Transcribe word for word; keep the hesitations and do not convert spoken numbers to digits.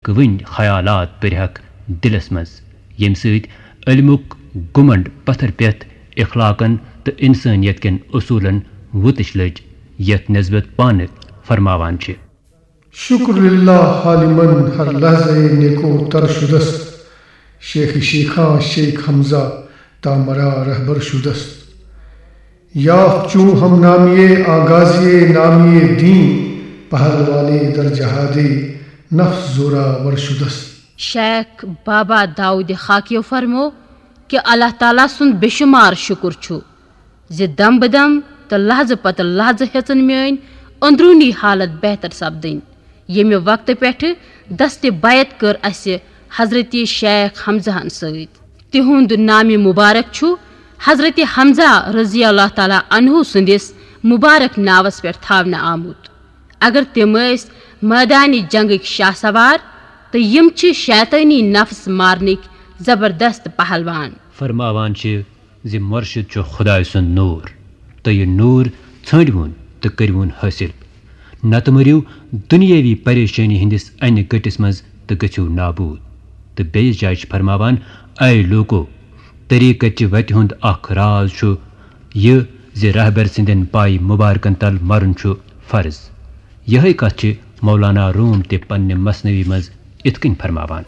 کٕوٕنۍ خیالات پرِہکھ دِلس منٛز، ییٚمہِ سۭتۍ علمُک گُمنڈ پتھر پٮ۪تھ اخلاقن تہٕ انسٲنیت کٮ۪ن اصوٗلن وُتٕچ لٔج، یتھ نسبت پانہٕ فرماوان چھِ۔ شکر للہ عالمن ہر لحظے نیکو تر شدست، شیخ شیخاں شیخ حمزہ تا مرا رہبر شدست۔ یافت چوں ہم نامیے آغازیے نامیے دین، پہلوانے در جہادے نفس زورا ور شدست۔ شیخ بابا داؤد خاکیو فرمو کہ اللہ تعالیٰ سُنٛد بے شمار شکر چھُ زِ دم بہ دم تہٕ لحظہٕ پتہٕ لحظہٕ ہیژن میٲنۍ اندرونی حالت بہتر سپدٕنۍ، ییٚمہِ وقتہٕ پٮ۪ٹھٕ دست بیعت کٔر اسہِ حضرت شیخ حمزہن سۭتۍ۔ تِہُنٛد نامِ مبارک چھُ حضرت حمزہ رضی اللہ تعالیٰ عنہ سٕنٛدِس مبارک ناوس پٮ۪ٹھ تھاونہٕ آمُت۔ اگر تِم ٲسۍ مٲدانِ جنگٕکۍ شاہ سوار، تہٕ یِم چھِ شیطٲنی نفس مارنٕکۍ زبردست پہلوان۔ فرماوان چھِ زِ مرشد چھُ خدایہِ سُنٛد نوٗر، تہٕ یہِ نوٗر ژھٲنٛڈِوُن تہٕ کٔرِوُن حٲصِل، نتہٕ مٔرِو دُنیٲوی پریشٲنی ہٕنٛدِس انہِ گٔٹِس منٛز تہٕ گٔژھِو نابوٗد۔ تہٕ بیٚیِس جایہِ چھِ فرماوان، اے لوٗکو، طریٖقت چہِ وتہِ ہُنٛد اکھ راز چھُ یہِ زِ رہبر سٕنٛدٮ۪ن پایہِ مُبارکن تل مرُن چھُ فرض۔ یِہے کتھ چھِ مولانا روم تہِ پننہِ مثنوی منٛز اِتھ کٔنۍ فرماوان۔